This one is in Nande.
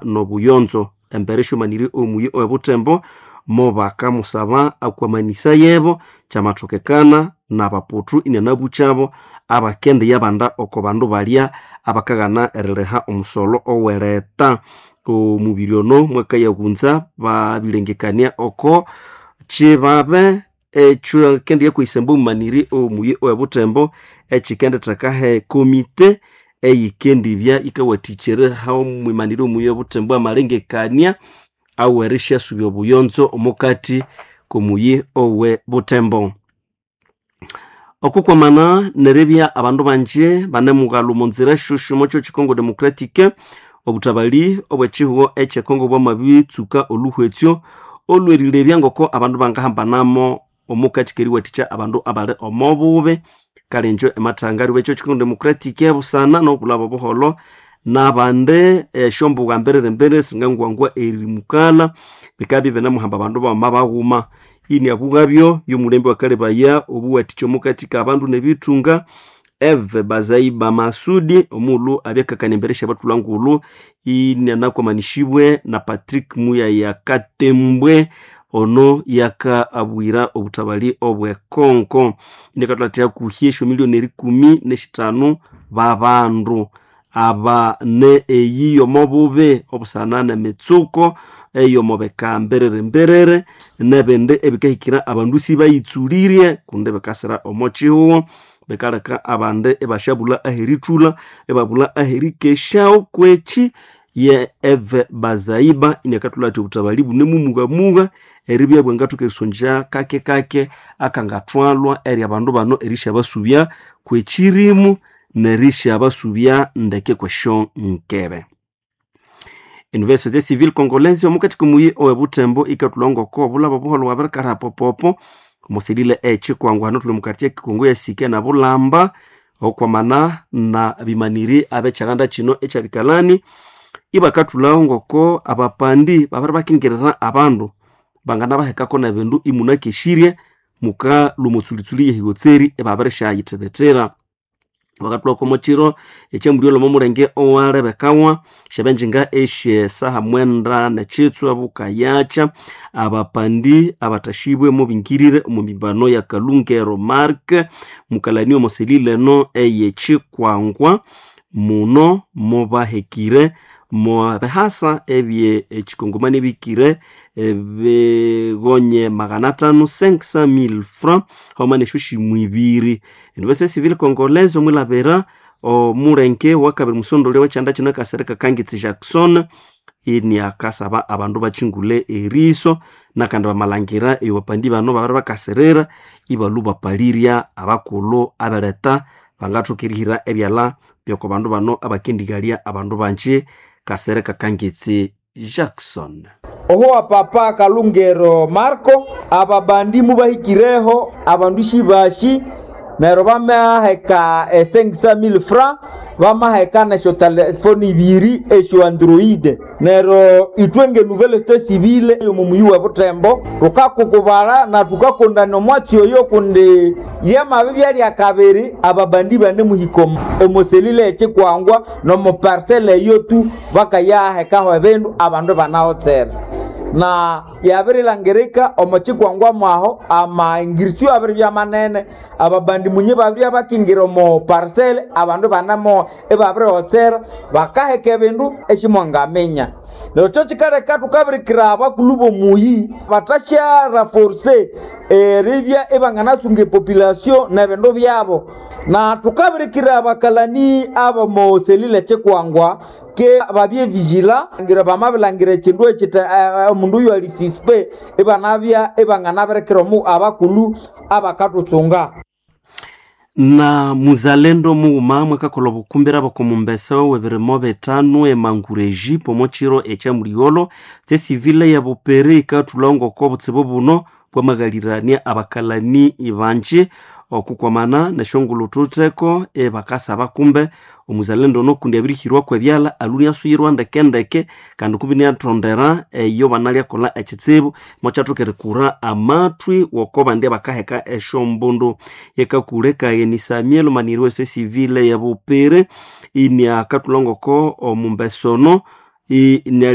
Nobuyonzo embere esyomanĩrye omuyi owebuthembo mobakamusaba akwamanisa yebo kyamathokekana n'abaputhu inianabukyabo abakendiyabanda oko bandu balya abakaghana eririha omusolo ow'ereta. Omubiri ono mwakayabunza babilengekania oko kibabe ekyakendiyakwesamba omumaniri omuyi owebuthembo ekikendithekaho ekomite eyikendibya yikawathikya eriha omwimaniri omuyi owebuthembo amalengekania awerisyasubya obuyonzo omukati k'omuyi owebuthembo. Okukwamana neribya abandu bangi banemughalha omo nzira syosyo omo kyo Congo Democratic, obuthabali obw'ekihugho eky'econgo bwamabitsuka olhuhwetsyo olwerilebya ngoko abandu bangahambanamo omukati k'eriwathikya abandu abali omo bubi. Kale injo emathanga ekyo Congo Democratic busana n'obulhaba obuholho n'abandi esyombugha mbiriri-mbiriri singangwangwa erimukalha bikabya ibinemuhamba abandu baghuma baghuma. Iniabughabyo y'omulembe wakalebaya obuwathikya omukati k'abandu n'ebithunga Eve Bazaiba Masudi omughulhu abyakakania embere syabathulha inianakwamanishibwe na Patrick Muyaya Katembwe ono yakaabwira obuthabali obw'ekonko. Iniakathulathira hakuhi esyomiliyoni erikumi n'esithanu b'abandu aba ne eyi y'omo bubi obusana n'emitsuko ey'omo bika mbiriri-mbiriri n'ebindi ebikahikira abandu sibayitsulirye kundi bikasira omo kihugho bikaleka abandi ibasyabulha aherithulha ibabulha aherikesyaho kwekyi ye Eve Bazaiba iniakathulha athi obuthabali bunemumughamugha eribya bwangathoka erisongya kake-kake akangathwalwa eri abandu bano erisyabasubya kw'ekyirimu n'erisyabasubya ndeke kw'esyonkebe. Université Civile Congolaise omukati k'omuyi owebuthembo ikathulha ngoko obulhaba obuholho bwabirikalha popopo omusilile ekikwangwa hano thuli omu quartier Kikongo yasike na Bulamba okwamana na bimaniri ab'ekyalanda kino ekyabikalani ibakathulhaho ngoko abapandi babiribakingirira abandu banganabahekako n'ebindu imunakesirye mukalhwa omotsulitsuli y'ehigotseri ibabirisyayithibitira. Bakathulhako omo kiro ekyamulyola omo mulenge owalebekawa syabenjinga esyesaha mwenda n'ekitswa bukayakya abapandi abathashibwe mubingirire omu mimbano ya Kalungero Mark mukalani omo selile eno ey'ekikwangwa muno mubahekire mubihasa ebye ekikongomani ebikire ebigonye 500 500,000 francs haghuma n'esyoshimwe ibiri. Université Civile Congolaise omwilhabira omulenge owakabiri musondolya ow'ekyanda kino Kasereka Kangitsi Jackson iniakasaba abandu bakyingule eriso nakandi bamalhangira eyo bapandi bano babiribakasirira ibalhwa bapalirya abakulhu aberetha bangathoka erihira ebyalha by'oko bandu bano abakendigalya abandu bangi. Kasereka Kangitsi Jackson. Oho papa Kalungero Marco ababandi mubahikireho abandu shibashi neryo bamaheka e 500,000 francs bamaheka nesyo telefoni ibiri esyo android neryo ithwe nge nouvelle société civile yomu muyi we Butembo tukakukubala na tukakondana omwatsi oyo kundi lyamabi byalya kabiri ababandi banemuhika omoselile ekikwangwa nomu parcelle eyo tu bakayahekaho ebindu abandu banahotsera na yabirilangirika omo kikwangwa mwaho amaingirisyo abiri byamanene ababandi munye babiri abakingira omo parcelle abandu banamo ibabirihotsera bakaheka ebindu eshimwangaminya. Neryo kyo kikaleka tukabirikira abakulhu b'omuyi batasyaraforce eribya ibanganasunga epopulation n'ebindu byabo na tukabirikira abakalani ab'omo selile kikwangwa ke babye vigila ngira bamabilangira ekindu ekita omundu oyo ali suspect ibanabya ibanganabirikira omu abakulhu abakathusunga. Na muzalendo mughuma mwakakolha obukumbira bw'okomumbesa w'ebirimo bithanu emangureji omo kiro ekyamuligholo kyesivile ya Buperi ikathulha ngoko obutsibu buno bwamaghalirania abakalani bangi okukwamana nesyongulhu thutheko ebakasaba kumbe omuzalendo ono kundi abirihirwaku ebyalha alhu inasuyirwa ndeke-ndeke kandi kumbi iniathondera eyo banalyakolha ekitsibu mokyathoka erikura amathwi woko bandi abakaheka esyombundu. Yekakulekagheni Samuel omaniri w'esosiyete civile ya Bupere iniakathulha ngoko omumbesa ono